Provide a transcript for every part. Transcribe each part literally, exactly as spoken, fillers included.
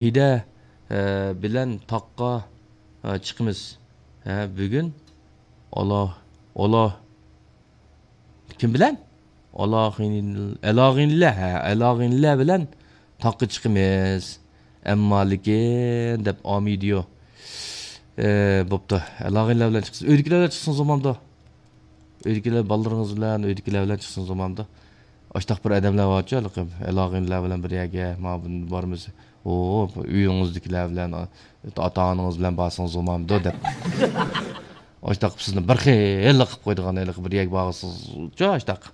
ھىدە، ئە، بىلەن تاغقا، ئە، چىقىمىز. ھە، بۈگۈن ئالا، ئالا، كىم بىلەن؟ ئالاغىن-، ئالاغىنلە، ھە، ئالاغىنلە بىلەن تاغقا چىقىمىز. ئەمما لېكىن دەپ ئامىدىيو. ئە، بوپتۇ. ئالاغىنلە بىلەن چىقسىز. ئۆيدىكىلەر بىلەن چىقسىڭىز بولمامدۇ؟ ئۆيدىكىلەر، بالىلىرىڭىز بىلەن، ئۆيدىكىلەر بىلەن چىقسىڭىز بولمامدۇ؟ ئاشتاق بىر ئادەملەر بارچۇ، ھېلىقى ئالاغىنلار بىلەن بىر يەرگە، مانا بارىمىز. ئۇ، ئۆيىڭىزدىكىلەر بىلەن، ئاتا-ئانىڭىز بىلەن بارسىڭىز بولمامدۇ دەپ. ئاشتاق سىزنى بىر خىل قىلىپ قويىدىغان، ھېلىقى بىر يەرگە بارغۇسىزچۇ ئاشتاق.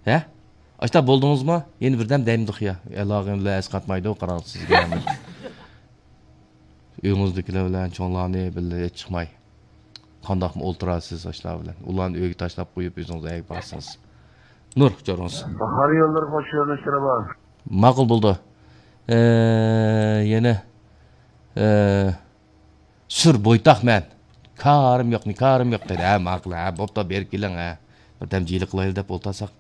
ھە؟ ئاشتاق بولدىڭىزمۇ؟ يەنە بىردەم دەيمىدۇق يا. ئالاغىنلار ئەسقاتمايدۇ، قاراڭ سىزگە. ئۆيىڭىزدىكىلەر بىلەن چوڭلارنى بىللە ھېچ چىقماي. قانداقمۇ ئولتۇرارسىز ئاشۇلار بىلەن؟ ئۇلارنى ئۆيگە تاشلاپ قويۇپ ئۆزىڭىز ئەگە بارسىڭىز. نۇر، چورۇڭىز. باھار يوللىرى خوش يۆنىلىشلىرى بار. ماقۇل بولدى. ئە، يەنە، ئە، سۈر بويتاق مەن. كارىم يوق، نى كارىم يوق دەيدۇ. ھە، ماقۇل، ھە، بوپتۇ، بېرىپ كېلىڭ، ھە. بىردەم جىلە قىلايلى دەپ ئولتۇرساق.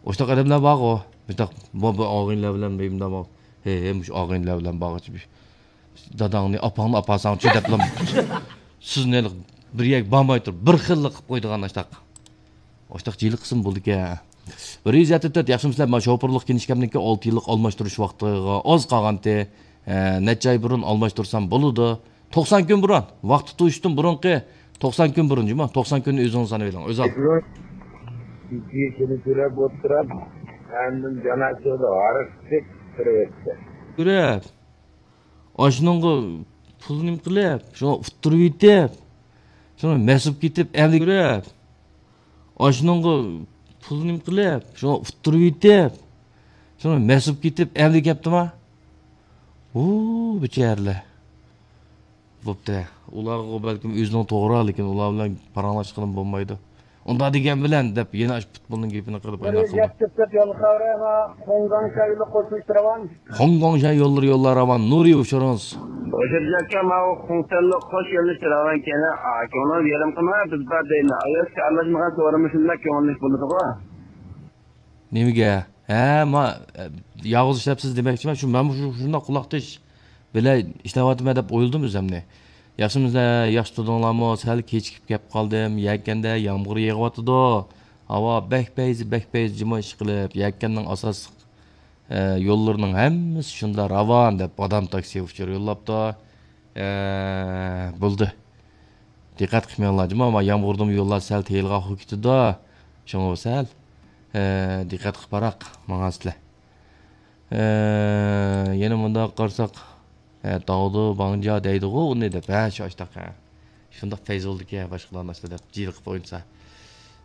ئاشتاق ئادەملەر بارغۇ. مۇشتاق، بۇ، بۇ ئاغىنىلەر بىلەن بىر مۇنداق، ھە، ھە، مۇشۇ ئاغىنىلەر بىلەن بارغۇچە بىر داداڭنى، ئاپاڭنى ئاپارساڭچۇ دەپلا سىزنى بىر يەرگە بارماي تۇرۇپ، بىر خىللا قىلىپ قويىدىغان ئاشتاق. ئاشتاق جىلە قىلسىمۇ بولىدىكەن. بىر يۈز يەتتە تۆت، ياخشىمۇسىلەر؟ مانا شوپۇرلۇق كىنىشكامنىڭكى ئالتە يىللىق ئالماشتۇرۇش ۋاقتىغا ئاز قالغانتى. ئە، نەچچە ئاي بۇرۇن ئالماشتۇرسام بولىدۇ. توقسان كۈن بۇرۇن. ۋاقتى توشۇشتىن بۇرۇنقى توقسان كۈن بۇرۇن، جۇمۇ. توقسان كۈننى ئۆزىڭىز سانىۋېلىڭ. ئۆزى ئال. ئىككى يۈز ئەللىك تۆلەپ ئولتۇرۇپ، ئاندىن جانازىدا ھارىقىپ تۇرۇۋەتتى. كۆرۈپ. ئاشۇنىڭغا پۇل نېمە قىلىپ، شۇڭا ئۇتتۇرۇۋېتىپ، شۇڭا مەس بولۇپ كېتىپ، ئەمدى كۆرۈپ. ئاشۇنىڭغا پۇل نېمە قىلىپ، شۇڭا ئۇتتۇرۇۋېتىپ، شۇڭا مەس بولۇپ كېتىپ، ئەمدى كەپتىما؟ ھۇ، بىچارىلەر. بوپتۇ. ئۇلارغا بەلكىم ئۆزىنىڭ توغرا، لېكىن ئۇلار بىلەن پاراڭلاشقىلىمۇ بولمايدۇ. ئۇنداق دېگەن بىلەن دەپ يەنە ئاشۇ پۇتبولنىڭ گېپىنى قىلىپ ئاينا قىلدى. يەتتە تۆت يول خەۋىرى، خوڭگاڭشا يولى قوشۇلۇش راۋان. خوڭگاڭشا يوللىرى يوللار راۋان. نۇرى ئۇچۇرىڭىز. روشەن ئاكا، ماۋۇ خۇڭسەنلىك قوش يۆنىلىش راۋان كەينى، ئا، كۆڭلىڭىز يېرىم قىلماي، بىز بار دەيمەن. ئاياس ئارىلاشمىغان سورىمۇ شۇنداق كۆڭۈللۈك بولىدىغۇ. نېمىگە؟ ھە، ما، ياۋۇز ئىشلەپسىز دېمەكچىمەن. شۇ، مەنمۇ شۇ، شۇنداق قۇلاق تىش بىلەن ئىشلەۋاتىمەن دەپ ئويلىدىم ئۆزۈمنى. ياخشىمۇسىلەر، ياخشى تۇردۇڭلارمۇ؟ سەل كېچىكىپ كەپ قالدىم. يەكەندە يامغۇر يېغىۋاتىدۇ. ھاۋا بەك پەيزى، بەك پەيزى جۇمۇ ئىشقىلىپ، يەكەننىڭ ئاساسلىق، ئە، يوللىرىنىڭ ھەممىسى شۇنداق راۋان دەپ، بادام تاكسى ئۇچۇر يوللاپتۇ. ئە، بولدى. دىققەت قىلمىڭلار، جۇمۇ، ما يامغۇردىمۇ يوللار سەل تېيىلغان خۇ كېتىدۇ. شۇڭا سەل، ئە، دىققەت قىلىپ باراق ماڭاسىلەر. ئە، يەنە مۇنداق قارىساق، ھە، داۋۇدۇ بانجا دەيدىغۇ ئۇنى دەپ، ھە، شۇ ئاشتاق، ھە. شۇنداق پەيز بولىدىكەن، باشقىلارنى ئاشتا دەپ جىلە قىلىپ ئوينىسا.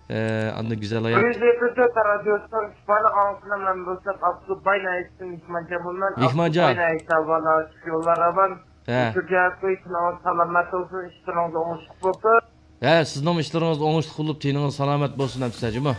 ئە، ئاندىن گۈزەل ھايات. بىر يۈز يەتتە تۆت رادىيوسىنىڭ ئىستىقبالى ئاڭلىسىنا مەن بولسام ئابدۇباي ناھىيەسىدىن مېھمانجان بولىمەن. مېھمانجان. ئابدۇباي ناھىيەسى ئاۋۋال ئاشۇ يوللار ئامان. ھە. ئۆتۈرگەن كۈنىڭىز سالامەت بولسۇن، ئىشلىرىڭىز ئوڭۇشلۇق بولسۇن. ھە، سىزنىڭ ئىشلىرىڭىز ئوڭۇشلۇق بولۇپ، تېنىڭىز سالامەت بولسۇن، ئەمىسە جۇمۇ.